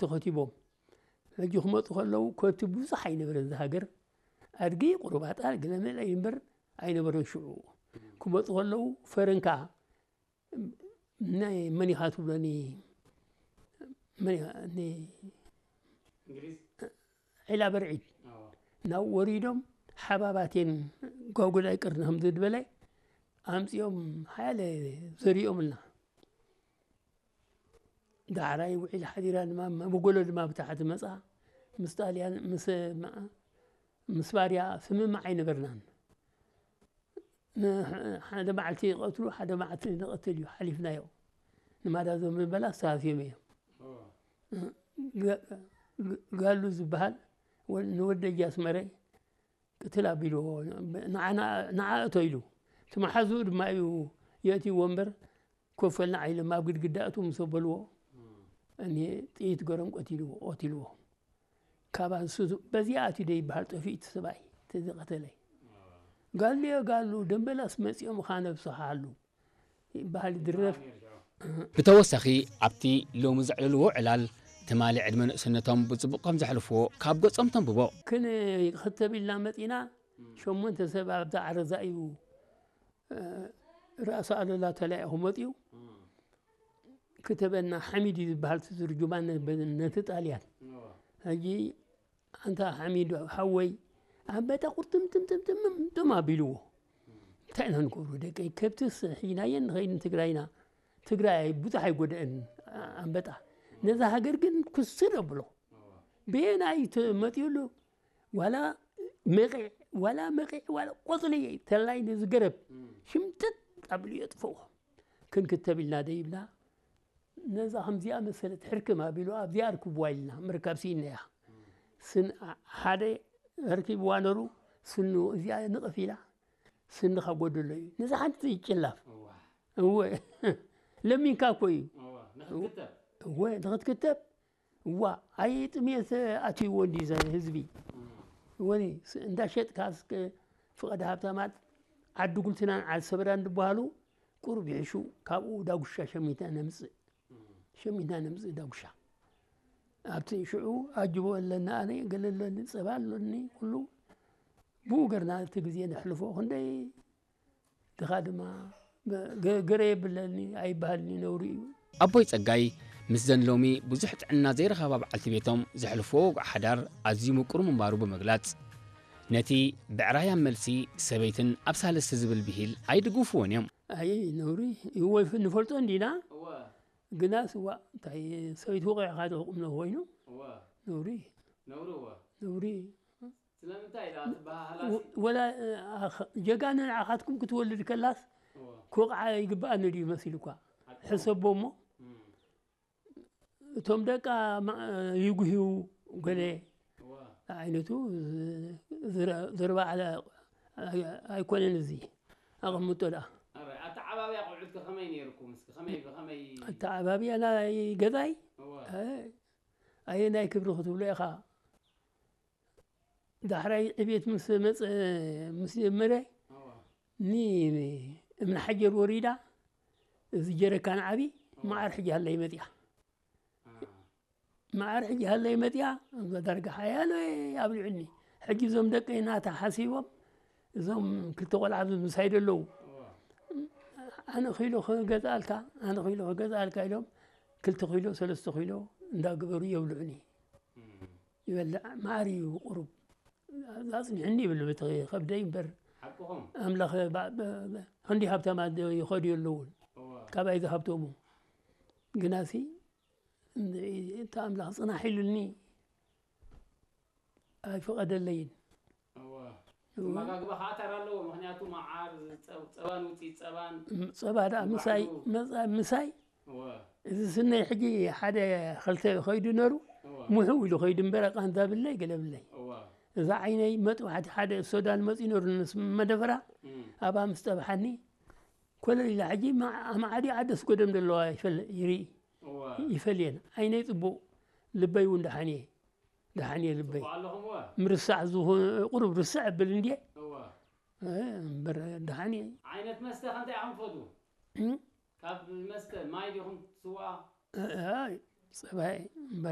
ተኸቲቦም። ሕጂ ክመፁ ከለዉ ከብቲ ብዙሕ ኣይነበረን እዛ ሃገር። ኣድጊ ቁሩብ ኣጣል ገለመለ እዩ እምበር ኣይነበረን ሽዑ። ክመፁ ከለዉ ፈረንካ ናይ መን ኢኻ ትብሎኒ? መን ኢኻ? ኒ-፣ እንግሊዝ ዒላ በርዒድ ኣዎ። ናብ ወሪዶም ሓባባቴን ጓጉላይ ቅርኒ ከም ዝድበለ ኣምፂኦም ሓያለ ዘሪኦምልና። ዳሕራይ ውዒል ሓዲራ ድማ መጎሎ ድማ ብታሕቲ መፃ። ምስ ጣልያን ምስ መ-፣ ምስ ባርያ ስምምዕ ኣይነበርናን። ን-፣ ሓደ መዓልቲ ይቐትሉ፣ ሓደ መዓልቲ ንቐትል እዩ ሓሊፍናዮ። ንማዳ ዞም ዝበላ ኣስተሃስዮም እዮም። ኣዎ። ጋ-፣ ጋ-፣ ጋሉ ዝበሃል ወ-፣ ንወደጃ ኣስመረ ቅትል ኣቢልዎ። ንዓ-፣ ንዓ እቶ ኢሉ። እቲ መሓዝኡ ድማ እዩ የእትይዎ እምበር ኮፈልና ዓይሎም ኣብ ግድግዳ እቱ ምስ ኣበልዎ እኒ ጥይት ገሮም ቀቲልዎ፣ ቀቲልዎ። ካብ ኣንስቱ በዚኣ ኣትዩ ዶ ይበሃል ጠፊኡ እቲ ሰብኣይ፣ እቲ ዝቐተለ። ጋሉ እዮ ጋሉ፣ ደምበላስ መጺኦም ኻነብስኻ ኣሉ ይበሃል ይድረፍ። ነይሩ ሽዑ። ብተወሳኺ ኣብቲ ሎሚ ዘዕለልዎ ዕላል ትማሊ ዕድመ ንእስነቶም ብጽቡቕ ከም ዘሕልፍዎ ካብ ገጾም ተንብቦ። ክን-፣ ክተብ ኢልና መጺና፣ ሸሞንተ ሰብ ኣብዛ ዓረዛ እዩ፣ እ፣ ራእሲ ኣሉላ ተላኢኹ መጺኡ። ክተበና ሓሚድ እዩ ዝበሃል፣ እቲ ትርጁማን ነ-፣ ነቲ ጣልያን። እዎ። ሕጂ ኣንታ ሓሚድ ሓወይ ኣንበጣ ቁርጥምጥምጥምጥምጥም ኣቢልዎ። እንታይ ኢና ንገብሮ ደቀይ? ከብትስ ሒዝናየን ንኸይድ ንትግራይና። ትግራይ ብዙሕ ኣይጎደአን ኣንበጣ። ነዛ ሃገር ግን ኩስር ኣብሎ። እዎ። በየናይ ተ-፣ መጢኡሉ ዋላ መቒዕ፣ ዋላ መቒዕ፣ ዋላ ቆጽሊ ተላይ ነዚ ገረብ ሽምጥጥ ኣብሉ የጥፍዎ። ክንክተብ ኢልና ደይብላ። ነዛ ከምዚኣ መሰለት ሕርክም ኣቢሉ ኣብዚኣ ኣርክብዋ ኢልና ምርካብ ስኢንያ። ስን-፣ ሓደ ኣርኪብዋ ነሩ ስኑ እዚኣ ንቕፍ ኢላ ስንኻ ጎደሎ እዩ። ነዛ ሓንቲ ይጭላፍ። እዋ። እወ። ለሚንካ እኮ እዩ። እዋ። ንኽትክተብ። እወ፣ ንኽትክተብ። እዋ፣ ኣይ ጥሜት ኣትይዎ እንዲ ዘ-፣ ህዝቢ። እወ፣ ስ-፣ እንዳሸጥካ እስከ ፍቐድ ሃብታማት ዓዲ ጉልትናን ዓዲ ሰበራን ዝበሃሉ ቁሩብ ይሕሹ። ካብኡ ዳጉሻ ሸሚትና ነምጽእ። ሸሚትና ነምጽእ ዳጉሻ። ኣብቲ ሽዑ ኣጅቦ ኣለና፣ ኣነ ገለ ኣለኒ፣ ጸባ ኣለኒ፣ ኩሉ ብኡ ገርና እቲ ግዜ ነሕልፎ። ክንደይ ድኻ ድማ ገ-፣ ገረ የብለኒ ኣይበሃልኒ፣ ነውሪ እዩ። ኣቦይ ጸጋይ ምስዘን ሎሚ ብዙሕ ጥዕና ዘይረኸባ በዓልቲ ቤቶም ዘሕልፍዎ ወግዒ ሓዳር ኣዝዩ ምቁር ምንባሩ ብምግላጽ፣ ነቲ ብዕራይ ኣብ መልሲ ሰበይትን ኣብ ሳልስቲ ዝብል ብሂል ኣይድግፍዎን እዮም። ኣይ ነውሪ ይወ-፣ ንፈልጦ እንዲና፣ እወ። ግናስ እዋ እንታይ ሰበይቲ ወቒዕኻ ዶ ቁም ነገር ኮይኑ? እወ። ነውሪ፣ ነውሪ እወ። ነውሪ። ስለምንታይ ኢላ ትበሃሃላ ሲ? ወ-፣ ወላ፣ እ፣ ኣኸ-፣ ጀጋኑ ንዓኻትኩም ክትወልድ ከላስ እወ። ክወቕዓ ይግብኣኒ ድዩ መሲሉኳ? ሓቂ። ሕሰቦ እሞ፣ እም። እቶም ደቃ ማ-፣ ይጉህዩ ገለ እወ። ዓይነቱ ዝ-፣ ዝረ-፣ ዘርባ ዓለ ኣይ-፣ ኣይኮነን እዚ። ኣቐምጦ ደኣ። ኣረ፣ ኣተዓባብያ ቆልዑትከ ከመይ ነይርኩም? እስኪ ከመይ፣ ብኸመይ? ኣተዓባብያ ናይ ገዛይ፣ እወ። እ፣ ኣየናይ ክብሪ ክትብሎ ኢኻ? ዳሕራይ ዕቤት ምስ መጸ፣ ምስ ጀመረ፣ እወ። ኒ እምኒ ሓጀር ወሪዳ፣ እዚ ጀረካን ዓቢ፣ መዓር ሕጂ ሃለይ መጽያ። አ። መዓር ሕጂ ሃለይ መጽያ፣ እዛ ዳርጋ ሓያሎ ኣብሊዑኒ። ሕጂ እዞም ደቀይ ናታ ሓሲቦም፣ እዞም ክልተ ቆልዓ ምሳይ ደለዉ። እወ። ኣነ ኪሎ ክገዝኣልካ፣ ኣነ ኪሎ ክገዝኣልካ ኢሎም፣ ክልተ ኪሎ፣ ሰለስተ ኪሎ እንዳገበሩ የብልዑኒ። እም። ይበልዕ፣ መዓር እዩ ቁሩብ። ኣጽኒሕኒ ይብል፣ በቲ ከብደይ እምበር። ሓቅኹም። ኣምላኽ ባ-፣ ብ-፣ ብ-፣ ክንዲ ሃብታማት ዶ ይኸዱ የለውን። እወ። ካባይ ዝሃብተሙ። ግናሲ፣ እንደ-፣ እቲ ኣምላኽ ጽናሕ ኢሉኒ ኣይፈቐደለይን። እወ። እወ። ኣመጋግባ ከዓ ተራ ኣለዎ። ምኽንያቱ መዓር፣ ጸ-፣ ጸባን ውፅኢት ጸባን ም-፣ ጸባ ደኣ ምሳይ፣ ባዕሉ። መጻ-፣ ምሳይ፣ እወ። እዚ ስነይ ሕጂ ሓደ ኸልተ ኸይዱ ነሩ፣ እወ። ምሕው ኢሉ ኸይዱ እምበር፣ ቃንዛ ብለይ፣ ገለ ብለይ። እወ። እዛ ዓይነይ መጥባሕቲ ሓደ ሶዳን መጺኡ ነሩ፣ ንስ መደፈራ፣ እም። ኣብኣ ምስ ጠብሓኒ፣ ኮለል ኢላ ሕጂ፣ ማ-፣ ኣማዓዲ ዓደስ ጎደም ዘለዋ ይፈል-፣ ይርኢ፣ እወ። ይፈልየን። ዓይነይ ጽቡቕ፣ ልበይ እውን ደሓን እየ። ደሓን እየ ልበይ። ጽቡቕ ኣለኹም እወ። ምርሳዕ ዝኾነ፣ ቁሩብ ርስዕ እብል እንድየ። እወ። እ፣ እምበር ደሓን እየ። ዓይነት መስተ ከ እንታይ ኢኹም ትፈትዉ? እም? ካብ መስተ ማይ ዲኹም ትስዋ? እ፣ ኣይ፣ ጸባይ እምበር